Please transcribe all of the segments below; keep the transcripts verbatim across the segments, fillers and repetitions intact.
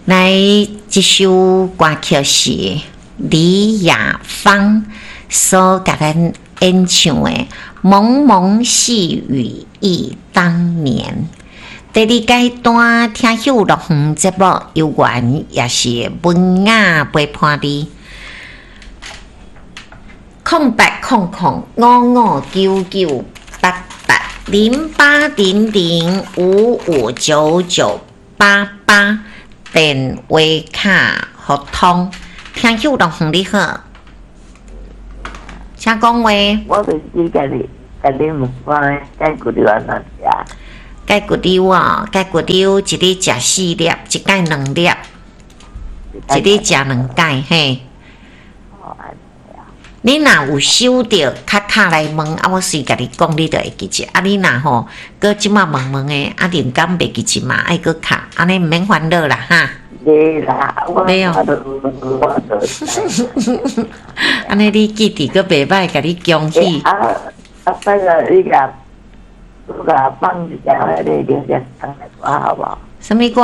來，這首歌曲是李雅芳所共咱演唱的《蒙蒙細雨憶當年》。第二階段聽秀樂園節目，有緣也是文雅陪伴你。空八空空五五九九八八零八零零五五九九八八，電話卡互通。聽秀樂園你好，請講話。我就是共你，共你問講，解骨瘤按怎食？解骨瘤哦，解骨瘤一日食四粒，一擺兩粒，一日食兩擺嘿。你若有收著，較敲來問，啊，我隨共你講，你就會記得。啊，你若吼，閣這馬問問的，啊，靈感袂記得嘛，愛閣敲，按呢毋免煩惱啦，哈。袂啦，我袂哦。我我按呢你記得閣袂䆀，共你恭喜。啊啊，拜託你共，你共放一下彼个劉家昌的歌好無？啥物歌？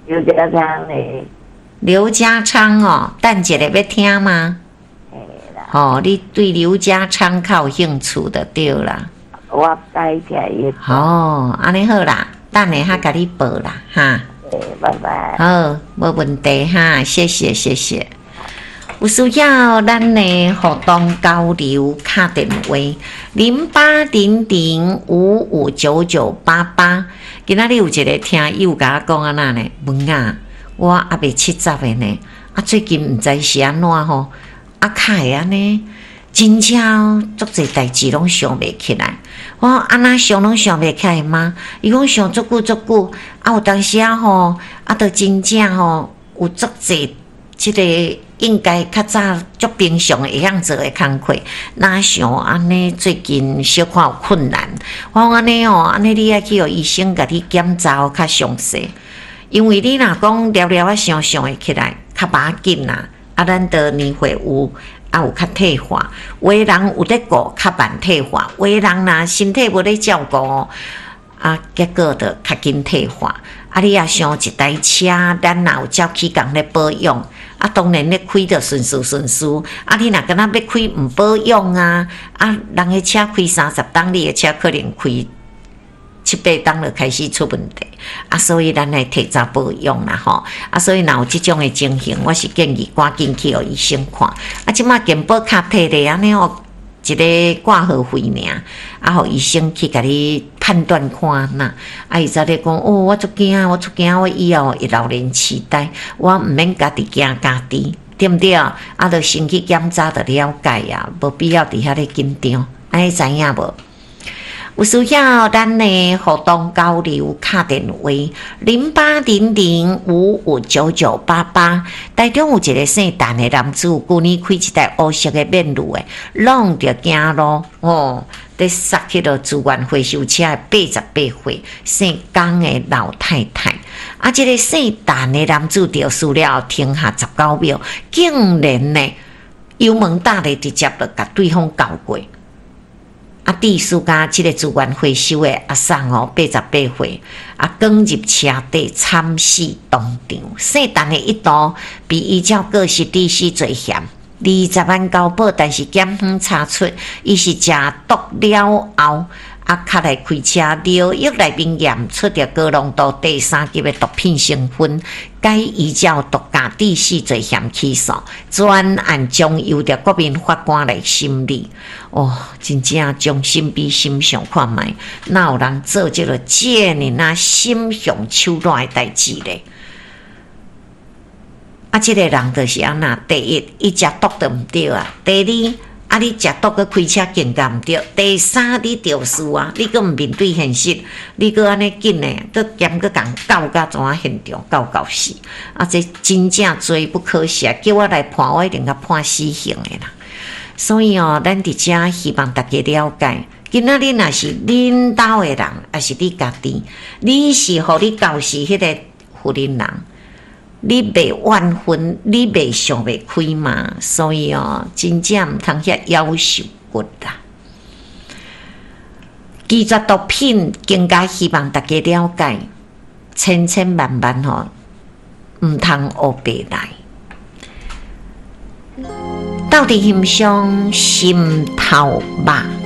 劉家昌的。劉家昌哦，等一下欲聽嗎？哦，你對劉家昌較有興趣就對啦。我愛聽伊。哦，按呢好啦，等下較共你報啦，哈。拜拜。好，無問題哈，謝謝謝謝。有需要咱的互動交流，敲電話零八零零五五九九八八。今仔日有一個聽友共我講按怎呢？文啊，我猶未七十的呢，啊，最近毋知是按怎吼。啊，較會按呢，真正足濟代誌攏想袂起來。我講按怎想攏想袂起來嗎？伊講想足久足久，啊有當時仔吼，啊，著真正吼有足濟這個應該較早足平常會曉做的工課，哪想按呢最近小可有困難。我講按呢哦，按呢你愛去予醫生共你檢查較詳細，因為你若講聊聊仔想想會起來，較無要緊啦。啊，咱著年歲有，啊有較退化，有的人有咧顧較慢退化，有的人若身體無咧照顧，啊，結果就較緊退化。啊，你若想一台車，咱若有照起工咧保養，啊，當然咧開著順順順順。啊，你若敢若欲開毋保養啊，啊，人的車開三十冬，你的車可能開七八冬就開始出問題。啊，所以咱愛提早保養啦吼。啊，所以若有這種的情形，我是建議趕緊去予醫生看。啊，這馬健保卡摕咧按呢哦，一个掛號費爾，啊，予醫生去共你判斷看哪。啊，伊才咧講哦，我足驚，我足驚，我以後會老年痴呆，我毋免家己驚家己，對毋對？啊，著先去檢查就了解啊，無必要佇遐咧緊張，按呢知影無？有需要咱的互動交流，敲電話零八零零五五九九八八。台中有一个姓陳的男子，舊年開一台烏色的免路的，挵著行路吼，咧殺彼个資源回收車的八十八歲姓江的老太太。啊，這个姓陳的男子肇事了後停下十九秒，竟然呢油門踏咧直接就共對方轎過。啊，致使甲這个資源回收的阿嬸哦，八十八歲，啊，捲入車底慘死當場。姓陳的一度被依照過失致死罪嫌二十萬交保，但是檢方查出伊是食毒了後，啊，較來開車，尿液內面驗出著高濃度第三級的毒品成分，改依照毒駕致死罪嫌起訴，全案將由著國民法官來審理。哦，真正將心比心想看覓，哪有人做這个這爾仔心雄手軟的代誌咧？啊，這个人就是按怎？第一，伊食毒就毋對啊；第二，啊，你食毒閣開車更加毋對。第三，你肇事啊，你閣毋面對現實，你閣按呢緊的，閣兼閣共轎甲怎啊現場轎到死。啊，這真正罪不可赦，叫我來判，我一定共判死刑的啦。所以哦，咱佇遮希望大家了解，今仔日若是恁兜的人，抑是你家己，你是予你猴死彼个婦人人，你袂怨恨，你袂想袂開嘛？所以哦，真正毋通遐夭壽骨啦。拒絕毒品，更加希望大家了解，千千萬萬吼，毋通烏白來。鬥陣欣賞心頭肉。